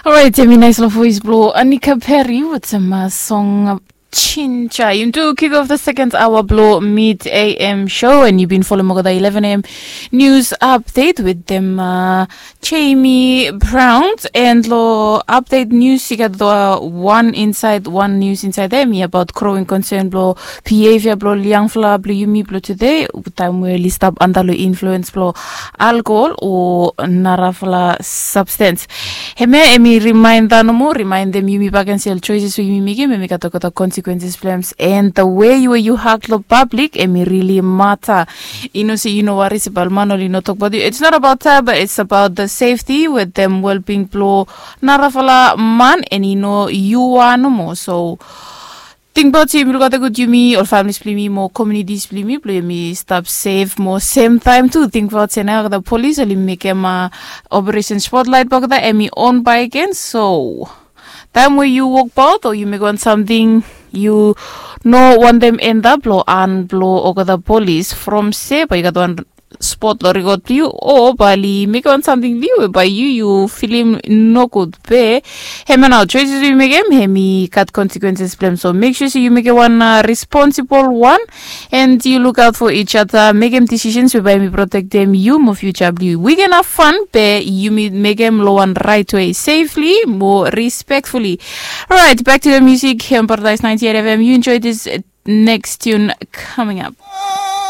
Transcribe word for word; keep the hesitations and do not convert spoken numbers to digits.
Orait, em i nais long voice blong Anika Perry with some uh, song Chincha. You do kick off the second hour blong mid A M show and you've been following Mogoda eleven A M news update with them uh, Jamie Brown and lo update news you got the one inside one news inside them about growing concern blong behavior blong young fla blong yumi blong today time we li stap under lo influence blong alcohol o narafala substance. Hemia em i reminder nomo remindem yumi baken se ol choices we yumi mekim em i gat olgeta consequences blong em and the way we yu hak long public em i really matter. I no se yu no wari se balman oli no tokbaot yu. It's not about that but it's about the safety with them well-being blong narafala man and i no yu wan nomo so tingbaot yumi lukaote gud yumi ol familis blong yumi mo communities blong yumi blong yumi stap sef mo sem taem tu tingbaot se nao olgeta polis oli mekem operation spotlight blong olgeta em i on bae gen so taem we yu wokbaot o yu mekem wan samting yu no wantem endap long an blong olgeta polis from se bae yu gat wan spot long rekod blong yu o bae oli mekem wan samting long yu we bae yu yu filim nogud be. Hemia nao choices we yu mekem hem i gat consequences blong em so mek sure se yu mekem wan responsible wan and yu lukaot fo each other mekem decisions we bae hem i protektem yu mo future blong yu. We can have fun be yumi mekem long wan right way safely mo respectfully. Alright, back to the music here on Paradise ninety-eight F M. You enjoy this next tune coming up.